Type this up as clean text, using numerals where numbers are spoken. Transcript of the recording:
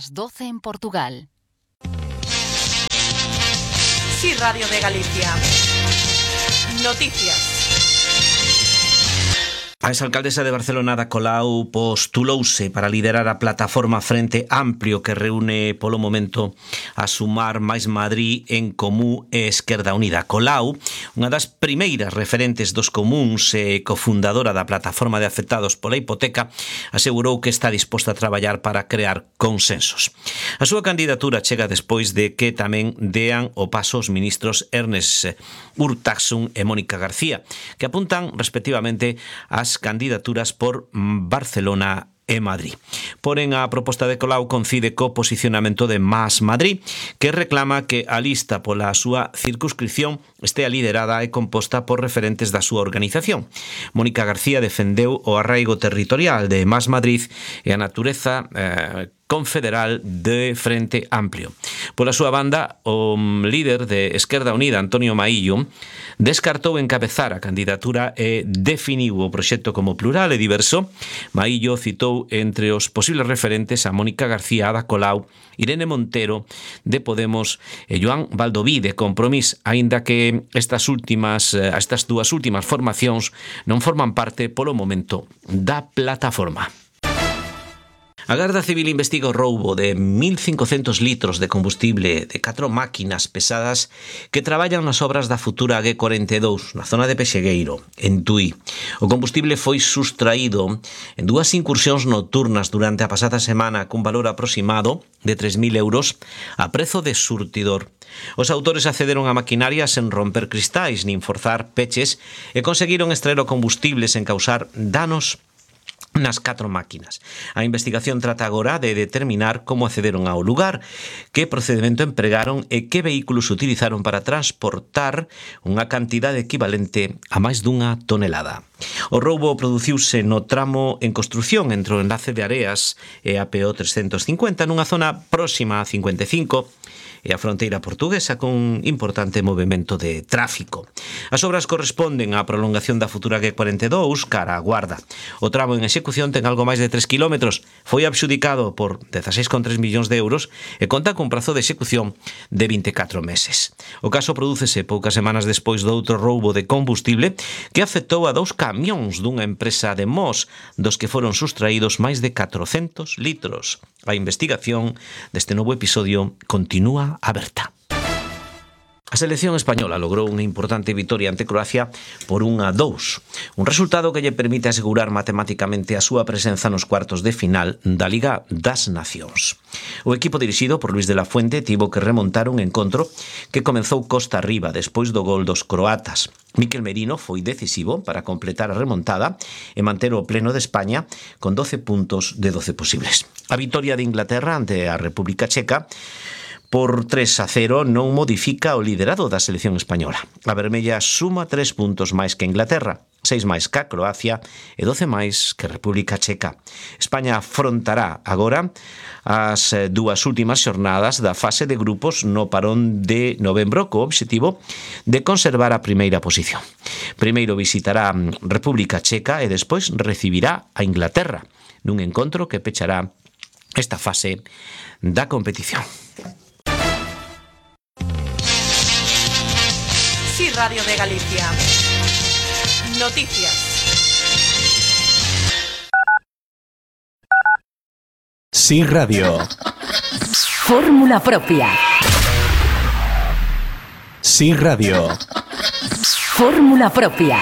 las 12 en Portugal. Sí, Radio de Galicia. Noticias. A exalcaldesa de Barcelona, Ada Colau, postulouse para liderar a plataforma Frente Amplio que reúne polo momento a Sumar máis Madrid, En Comú e Esquerda Unida. Colau, unha das primeiras referentes dos comuns e cofundadora da plataforma de afectados pola hipoteca, asegurou que está disposta a traballar para crear consensos. A súa candidatura chega despois de que tamén dean o paso os ministros Ernest Urtasun e Mónica García, que apuntan respectivamente as candidaturas por Barcelona e Madrid. Porén, a proposta de Colau coincide co posicionamento de Más Madrid, que reclama que a lista pola súa circunscripción estea liderada e composta por referentes da súa organización. Mónica García defendeu o arraigo territorial de Más Madrid e a natureza confederal de Frente Amplio. Pola súa banda, o líder de Esquerda Unida, Antonio Maillo, descartou encabezar a candidatura e definiu o proxecto como plural e diverso. Maillo citou entre os posibles referentes a Mónica García, Ada Colau, Irene Montero de Podemos e Joan Baldoví de Compromís, aínda que estas dúas últimas formacións non forman parte polo momento da plataforma. A Garda Civil investiga o roubo de 1.500 litros de combustible de 4 máquinas pesadas que traballan nas obras da futura A42 na zona de Pexegueiro, en Tui. O combustible foi sustraído en dúas incursións nocturnas durante a pasada semana cun valor aproximado de 3.000 euros a prezo de surtidor. Os autores accederon a maquinaria sen romper cristais nin forzar peches e conseguiron extraer o combustible sen causar danos nas 4 máquinas. A investigación trata agora de determinar como accederon ao lugar, que procedimento empregaron e que vehículos utilizaron para transportar unha cantidade equivalente a máis dunha tonelada. O roubo produciuse no tramo en construción entre o enlace de Areas e a PO 350 nunha zona próxima a 55 e a fronteira portuguesa con importante movimento de tráfico. As obras corresponden á prolongación da futura G42 cara a Guarda. O tramo en execución ten algo máis de 3 kilómetros, foi adxudicado por 16,3 millóns de euros e conta cun prazo de execución de 24 meses. O caso prodúcese poucas semanas despois do outro roubo de combustible que afectou a 2 camións dunha empresa de Mos, dos que foron sustraídos máis de 400 litros. A investigación deste novo episodio continúa aberta. A selección española logrou unha importante vitoria ante Croacia por 1-2, un resultado que lle permite asegurar matemáticamente a súa presenza nos cuartos de final da Liga das Nacións. O equipo dirixido por Luis de la Fuente tivo que remontar un encontro que comezou costa arriba despois do gol dos croatas. Mikel Merino foi decisivo para completar a remontada e manter o pleno de España con 12 puntos de 12 posibles. A vitoria de Inglaterra ante a República Checa por 3-0 non modifica o liderado da selección española. A vermella suma 3 puntos máis que Inglaterra, 6 máis que Croacia e 12 máis que República Checa. España afrontará agora as dúas últimas xornadas da fase de grupos no parón de novembro co obxectivo de conservar a primeira posición. Primeiro visitará República Checa e despois recibirá a Inglaterra nun encontro que pechará esta fase da competición. Sí, Radio de Galicia. Noticias. Sí, Radio. Fórmula propia. Sí, Radio. Fórmula propia.